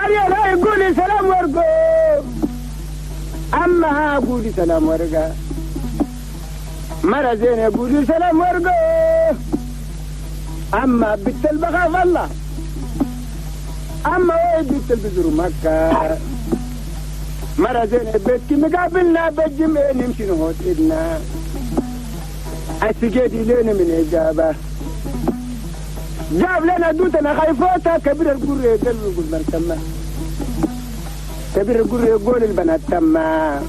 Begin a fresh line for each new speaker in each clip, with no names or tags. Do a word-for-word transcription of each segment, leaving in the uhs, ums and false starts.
أريا لا يقولي سلام ورقو أما ها قولي سلام ورقة مرة زين يقولي سلام ورقو أما بنت البخاف الله أما هو بنت البزر مكة مرة زين بيتك مقابلنا بالجمع نمشي نهوت إدنا السجادي لنا من إجابة جاب لنا دوتنا خايفوتا كبير القرية قال يقول من تما كبير القرية يقول البنات تما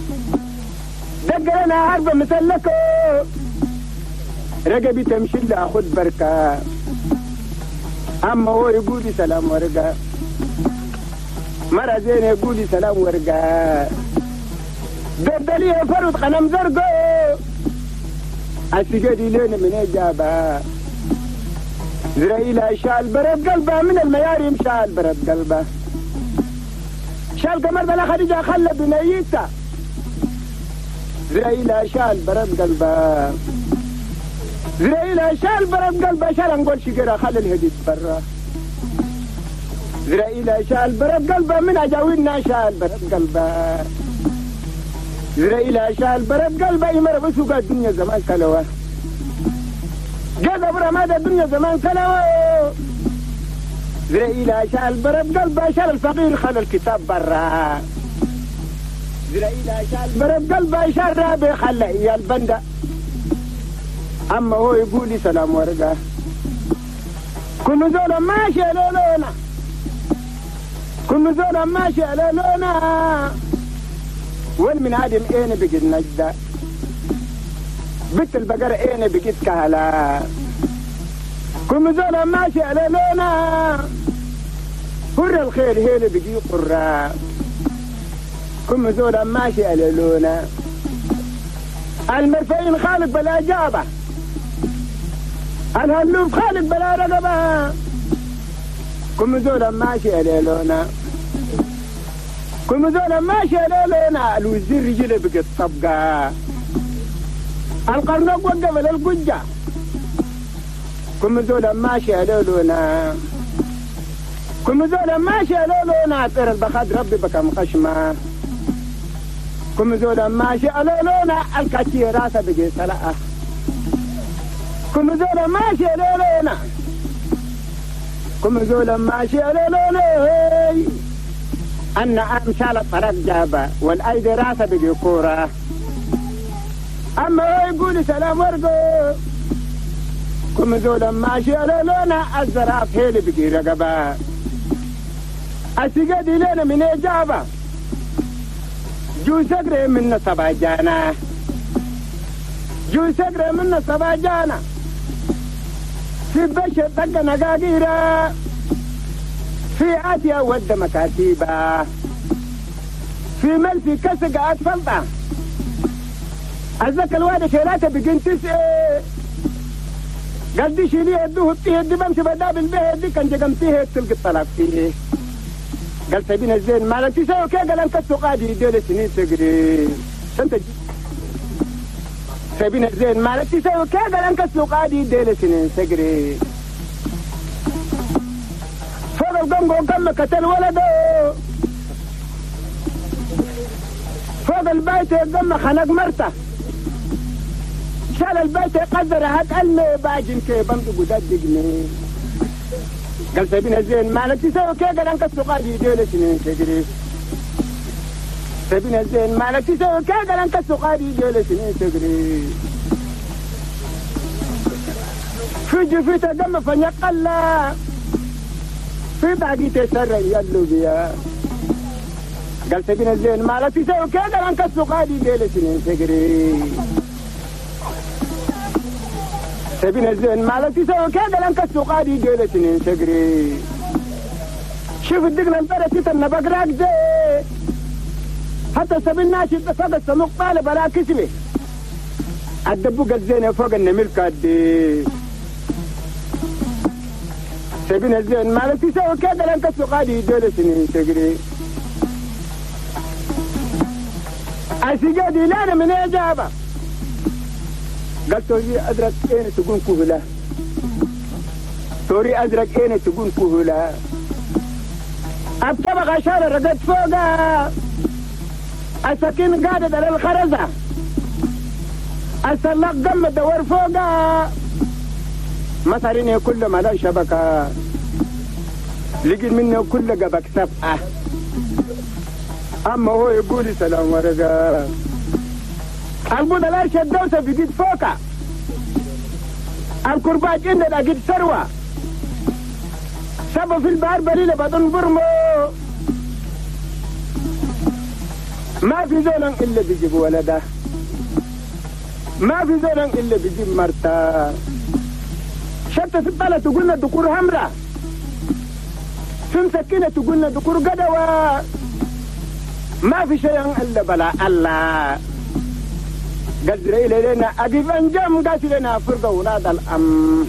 دق لنا عربة مسلكو رقبي تمشي لها خد بركة أما هو يقول سلام ورقة مرة زين يقول سلام ورقة دردليه فرد قنم زرقو السجادي لنا من إجابة زرائيل شال برد قلبه من المياريم شال برد قلبه شال قمر بلا خديجة خلى بنيته زرائيل شال برد قلبه زرائيل شال برد قلبه شال نقول شجرة خلى الهديد برا زرائيل شال برد قلبه من أجاوينا شال برد قلبه زرائيل شال برد قلبه يمر بسوق الدنيا زمان كلوه جذب رماد الدنيا زمان كلوه زرائيل شال برد قلبه شال الفقير خلى الكتاب برا زرائيل شال برد قلبه شال رابي خلى إياه البندة أما هو يقول لي سلام ورقة كل زولا ماشي لولونا كل زولا ماشي لولونا والمن عدم اين بقيت نجدة بنت البقرة اين بقيت كهلا كل زولا ماشي لولونا هر الخير هيل بقي قرة كل زولا ماشي لولونا المرفعين خالق بلا جابة الهلوف خالق بلا رقبة كم زولا ماشي لولونا كم زولا ماشي لولونا الوزير رجله بقت طبقة القرنق وقف للقجة كم زولا ماشي لولونا كم زولا ماشي لولونا طير البخاد ربي بكم خشمة كم زولا ماشي لولونا الكاتي راسه بقي سلقة كم زولا ماشي لولونا كم زولا ماشي لولونا أن أمثال الطرق جابة والأيدي راسه بقي كورة أما هو يقول سلام ورقو كم زولا ماشي لولونا الزراف هيلي بقي رقبة السجادي لنا من إجابة جو سقري من سبع جانا جو سقري من سبع جانا في بشر طق نقاقيرة في آتيا ود مكاتيبة في ملفي كسق أطفلطة أزك الواد شيلاته بقين تسعة قال دي شيليه يدوه بتيه دي بمشي بدابل به دي كان جقمتيه تلقي الطلاق فيه قال سبينا الزين مالك تسوي كي قال انت السقادي ديل سنين تقري سنت سبينا الزين مالك تسوي كي قال انت السقادي ديل سنين تقري فوق القنقو كم قتل ولده فوق البيت قم خنق مرته شال البيت قدر هات المي باجن كي بمدق ودقني قال سبينا الزين مالك تسوي كي قال انك السقادي ديل سنين تجري سبينا الزين مالك تسوي كي قال انك السقادي ديل سنين تجري في جفيته دم فنقلا في باقي تسرع يلو بيا قال سبينا الزين مالك تسوي كي قال انك السقادي ديل سنين تجري سبينا الزين مالك تسوي كي قال انك السقادي ديل سنين تجري شوف الدقلة البرة تتنى بقراك زي حتى سبيل ناشي فوق السموق طالب بلا كسبه الدبوق الزينة فوق النمل كادي سبينا الزين مالك تسوي كي قال انك السقادي ديل سنين تجري السجادي لا من إجابة قال توري أزرق اين تكون كهلة توري أزرق اين تكون كهلة الطبقة شال رقد فوقها السكين قادت على الخرزة السلاق قم الدور فوقها مثلين كل ما لا شبكة لقي منه كل قبك سبعة أما هو يقول سلام ورقة البودة لا شدوسة بقيت فوقها الكرباج إن لقيت ثروة سبب في البحر بليلة بدون برمو ما في زول إلا بيجيب ولده ما في زول إلا بيجيب مرته شتى في البلد تقولنا دكور همرة في مسكينة تقولنا دكور قدوة ما في شيء إلا بلا الله قال لنا أقف أنجم قال لنا فرقة ولاد الأم.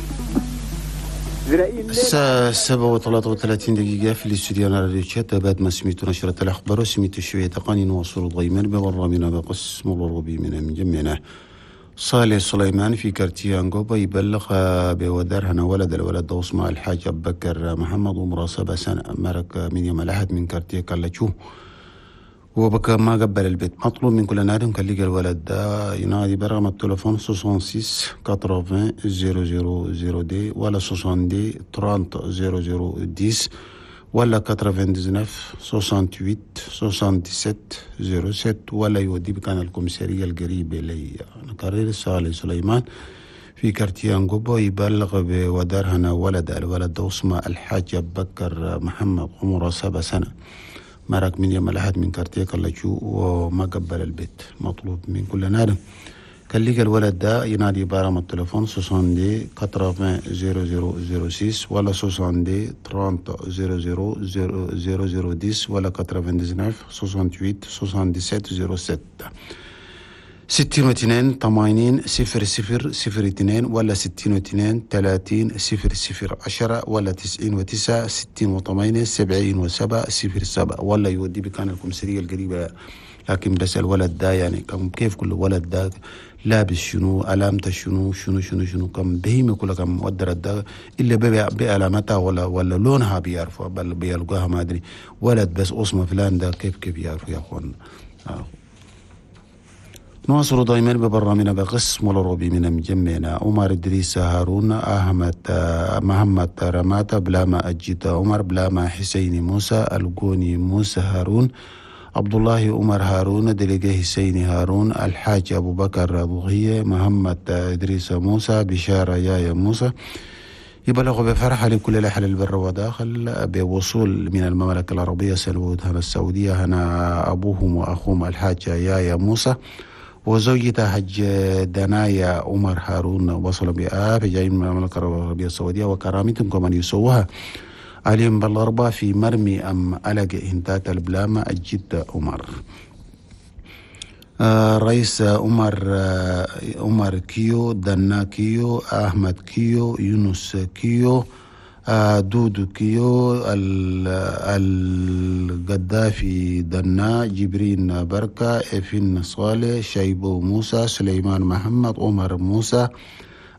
الساعة سبعة وثلاثة وثلاثين دقيقة في الاستوديو راديو تشاد. بعد ما سميتو نشرة الأخبار وسميتو شوية تقاني نواصل ضيما بغرامنا بقسم الروبي من مجمعنا. صالح سليمان في كارتيان غوبا يبلغ بودار هنا ولد الولد دوسما الحاج أبو بكر محمد عمره سبع سنة مرق من يوم الأحد من كارتيه كالاتشو وبكى ما قبل البيت. مطلوب من كل نادم كان لقى الولد ده ينادي برقم التليفون ستة وستين ثمانين صفر صفر صفر دي ولا ستين ثلاثين صفر صفر عشرة ولا تسعة وتسعين ثمانية وستين سبعة صفر سبعة ولا يودي بكان الكوميسارية القريبة لي. نكرر صالح سليمان في كارتيان قبو يبلغ بودار هنا ولد الولد دوسما الحاج بكر محمد عمره سبع سنة مرق من يوم الأحد من كارتيه كالاتشو وما قبل البيت. مطلوب من كل نادم كان لقى الولد ده ينادي برقم التليفون ستين ثمانين صفر صفر صفر ستة ولا ستين ثلاثين صفر صفر صفر صفر عشرة ولا تسعة وتسعين ثمانية وستين سبعة وسبعين صفر ستة ستين واثنين ثمانين صفر صفر صفر اثنين ولا ستين واثنين ثلاثين صفر صفر عشرة ولا تسعين وتسعة ستين وثمانية سبعين وسبعة صفر سبعة ولا يودي بكان الكمسرية القريبة. لكن بس الولد ده يعني كم كيف كل ولد ده لابس شنو علامته شنو شنو شنو شنو كم بهيمة كل كم مقدر ده إلا بعلامتها ولا ولا لونها بيعرفوا بل بيلقاها ما أدري. ولد بس اسمه فلان ده كيف كيف يعرفوا يا أخوان. آه. نواصل دائما ببرنامجنا بقسم الروبي من مجمعنا. عمر إدريس هارون أحمد محمد رماتا بلاما أجيتا عمر بلاما حسين موسى الجوني موسى هارون عبد الله عمر هارون دلقي حسين هارون الحاج أبو بكر ضغية محمد إدريس موسى بشارة يايا موسى يبلغ بفرحة لكل الأهل البر وداخل بوصول من المملكة العربية سلوت هنا السعودية هنا أبوهم وأخوهم الحاج يايا موسى وزوجته حج دنايا عمر هارون وصلوا بآب جايين من المملكة العربية السعودية وكرامتهم كمان يسووها عليهم بالأربعة في مرمي أم ألق إنتات البلامة الجد عمر. آه رئيس عمر آه عمر كيو دنا كيو أحمد كيو يونس كيو آه دودو كيو القذافي دنا جبرين بركة إفن صالح شيبو موسى سليمان محمد عمر موسى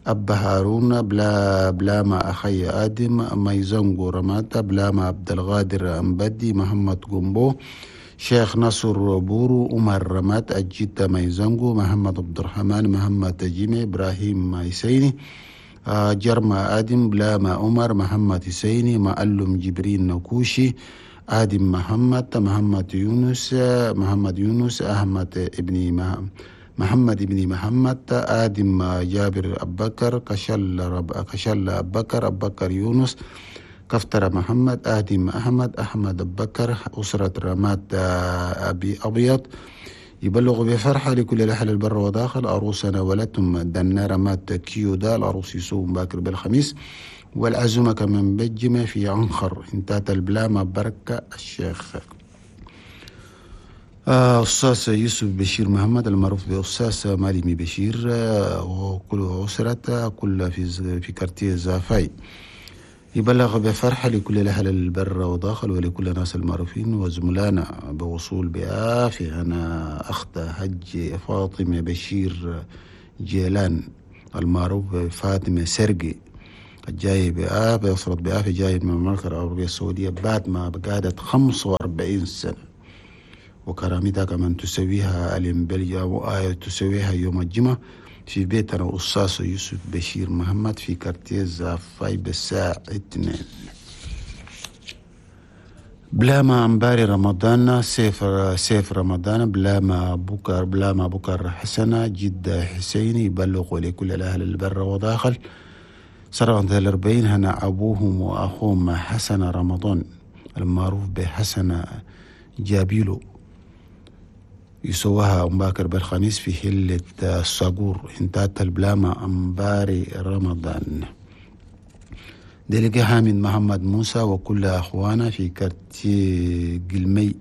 أبا هارون بلا بلاما أخي آدم ميزنغو رماتا بلاما عبد الغادر أمبدي محمد قنبو شيخ نصر بورو عمر رمات أجيتا ميزنغو محمد عبد الرحمن محمد جيمي إبراهيم مايسيني جرما آدم بلاما عمر محمد حسيني معلم جبرين نكوشي آدم محمد محمد يونس محمد يونس أحمد ابن محمد ابن محمد آدم جابر أبكر كشل رب كشل أبكر أبكر يونس كفتر محمد آدم أحمد أحمد أبكر أسرة رمات أبي أبيض يبلغ بفرحة لكل الأهل البر وداخل عروسنا ولدتم دنا رمات كيو دا العروس يسوم باكر بالخميس والعزومة كمان بجمة في عنخر انتات البلامة بركة الشيخ. أستاذ يوسف بشير محمد المعروف بأستاذ مالمي بشير وكل أسرته كل في في كارتيه زافاي يبلغ بفرحة لكل الأهل البر وداخل ولكل الناس المعروفين وزملائنا بوصول بآفي أنا أخت حج فاطمة بشير جيلان المعروف فاطمة سرقي الجاي بآفة أسرة بآفة جاي من المملكة العربية السعودية بعد ما قعدت خمسة وأربعين سنة، وكرامتها كمان تسويها الإمبليا وآية تسويها يوم الجمعة في بيتنا أستاذ يوسف بشير محمد في كارتيه زافاي بالساعة اثنين. بلا ما أمباري رمضان سيف سيف رمضان بلا ما بكر بلا ما بكر حسنة جدة حسيني يبلغوا لكل الأهل البر وداخل سنة الأربعين هنا أبوهم وأخوهم حسن رمضان المعروف بحسن جابيلو يسواها أمباكر بالخميس في حلة الصقور انتهت البلامة أمباري رمضان. دلقة حامد محمد موسى وكل أخوانا في كارتي قلمي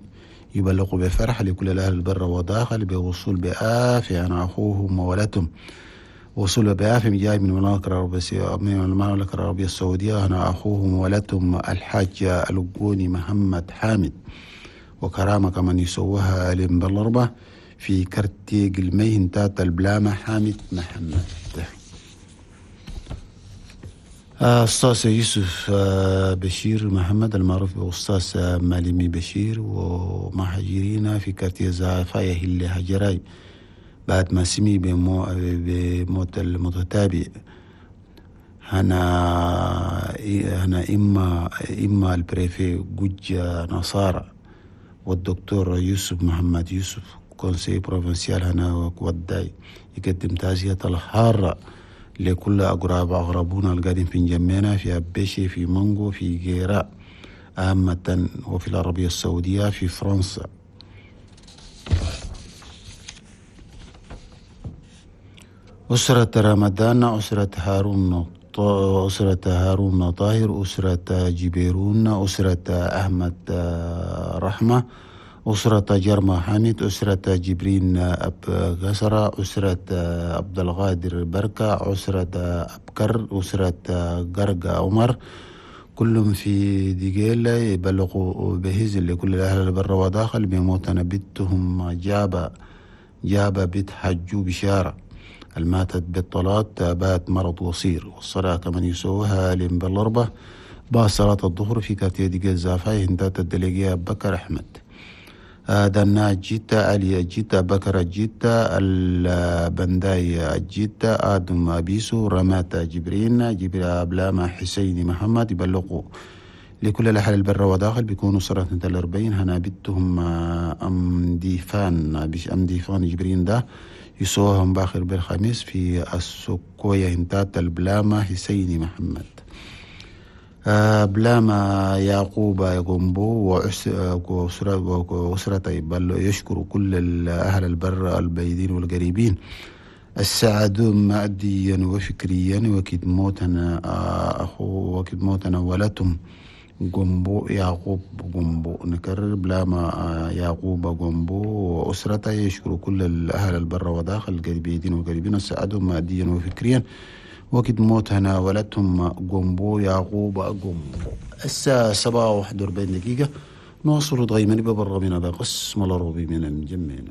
يبلغوا بفرح لكل الأهل البر وداخل بوصول بآفة عن أخوهم وولدهم وصول بآفة جاي من المملكة العربية السعودية هنا أخوهم وولدهم الحاج الجوني محمد حامد وكرامة كمان يسوها بالأربعة في كارتي قلمي انتهت البلامة حامد محمد. أستاذ يوسف بشير محمد المعروف بأستاذ مالمي بشير ومهاجرين في كارتي زافايا اللي هجراي بعد ما سمي بموت المتتابع هنا هنا إما إما ال préfet جوج نصارى والدكتور يوسف محمد يوسف conseiller provincial هنا وداي يقدم تعزية الحارة لكل أقرب أغربونا القادم في جمينا في أبيشي في مانجو في جيراء عامة وفي العربية السعودية في فرنسا. أسرة رمضان، أسرة هارون، أسرة هارون طاهر، أسرة جبيرون، أسرة أحمد رحمة، أسرة جرمى حامد، أسرة جبرين أب غسرة، أسرة عبد القادر بركة، أسرة أبكر، أسرة قرقة عمر، كلهم في ديجيل يبلغوا بهز لكل الأهل البر وداخل بموتنا بنتهم جابة جابة بنت حجو بشارة الماتت بالطلاق بات مرض وصير، والصلاة كمان يسوها لمبالأربة بعد صلاة الظهر في كارتيه ديجيل زافاي هندات الدليجية بكر أحمد. دنا جيتا علي جيتا بكر جيتا البنداي جيتا آدم أبيسو رماتا جبرين جبريل أبلاما حسين محمد يبلغوا لكل الأهل البر وداخل بيكونوا صلاة الأربعين هنا بنتهم أم ديفان أم ديفان جبرين ده يسوهم باخر بالخميس في السكوية هنتات البلاما حسين محمد. بلاما يعقوب يقومبو وأسرته يشكر كل الأهل البر البعيدين والقريبين السعدوا ماديا وفكريا وكد موتنا أخو وكد موتنا ولتهم جنبو يعقوب جنبو. نكرر بلاما يعقوب جنبو وأسرته يشكر كل الأهل البر وداخل القريبين والقريبين السعدوا ماديا وفكريا وقت موتنا ولدتهم جنبو يعقوب جنبو. الساعة سبعة وواحد وأربعين دقيقة نواصل ضيمن ببرامنا بقسم الأربي من المجمعين.